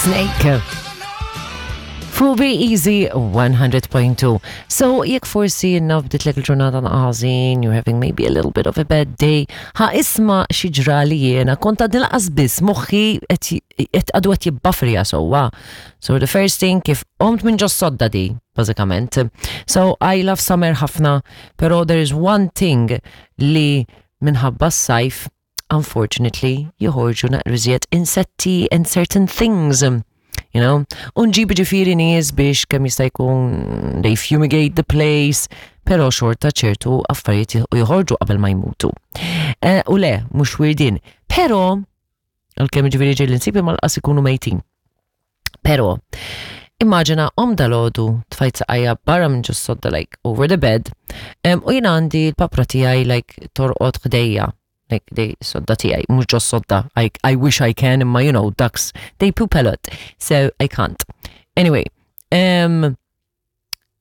Snake. Fuq Be Easy 100.2. So, jekk forsi naf bditlek il-ġurnata naqażin, you're having maybe a little bit of a bad day, ħa isma xi ġrali jiena, kont għadni laqas biss moħħi qed għadu qed jibbafrija sewwa. So the first thing kif qomt minn ġos sodda di, bażikament. So I love summer ħafna, pero there is one thing li minħabba s-sajf unfortunately joħorġu naqriżiet insetti and certain things. You know, unġib ġifiri nies biex kemm jista' jkun they fumigate the place, pero xorta ċertu affarijiet joħorġu qabel ma jmutu. Eh, u le, mhux wirdin. Pero, għalkemm ġifiri ġej l-insibi mal-qas ikunu mejtin. Pero, immaġina om dalodu tfajt saqajja barra minn ġus sodda like over the bed um, u jien għandi l-papra tiegħi like torqod ħdejja like they sodda tiegħi mhux ġos sodda I, I wish I can imma you know ducks they poop a lot so I can't. Anyway, um,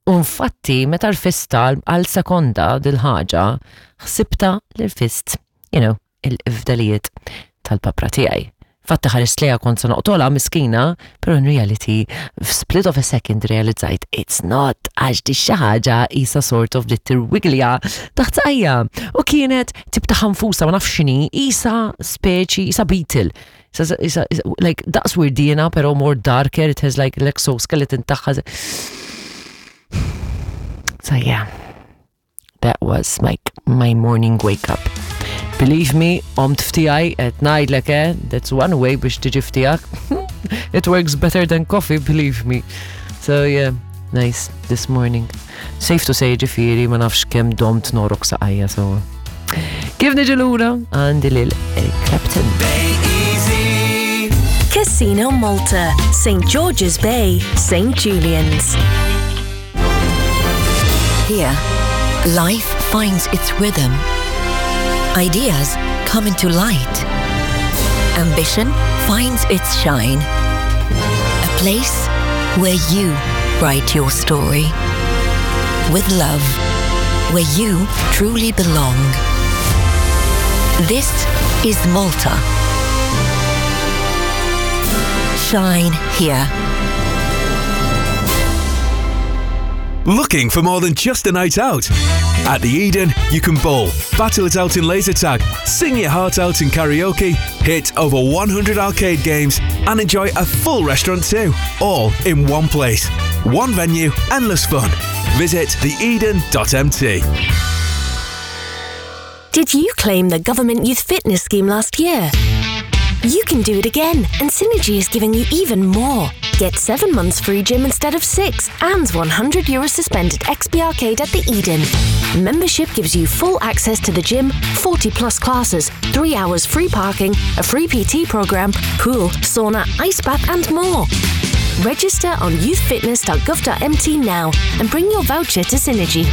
U infatti meta rfista għal sekonda dil-ħaġa, ħsibta li rfist, you know, il-fdalijiet tal-papra tiegħi. Fatti ħarist lejha kont se noqtolha miskina, pero in reality, f'split of a second realizzajt it's not għax di xi ħaġa isa sort of bdiet tirwiglja taħt saqajja. U kienet tip ta' ħanfusa ma nafx x'inhi, isa speċi, isa beetle. Isa, like, daqs wirdiena, pero more darker, it has like l-exoskeleton tagħha. So yeah, that was like my morning wake up. Believe me, omt ftijaj, et ngħidlek eh, that's one way biex tiġi ftijak. It works better than coffee, believe me. So yeah, nice this morning. Safe to say ġifiri, ma nafx kemm domt norok saqajja so. Kif niġi lura għandi lil Eric Clapton. Casino Malta, St. George's Bay, St. Julian's. Here, life finds its rhythm. Ideas come into light. Ambition finds its shine. A place where you write your story. With love, where you truly belong. This is Malta. Shine here. Looking for more than just a night out? At the Eden, you can bowl, battle it out in laser tag, sing your heart out in karaoke, hit over 100 arcade games, and enjoy a full restaurant too. All in one place. One venue, endless fun. Visit theeden.mt. Did you claim the government youth fitness scheme last year? You can do it again, and Synergy is giving you even more. Get 7 months free gym instead of 6 and 100 euro suspended XP Arcade at the Eden. Membership gives you full access to the gym, 40 plus classes, 3 hours free parking, a free PT program, pool, sauna, ice bath, and more. Register on youthfitness.gov.mt now and bring your voucher to Synergy.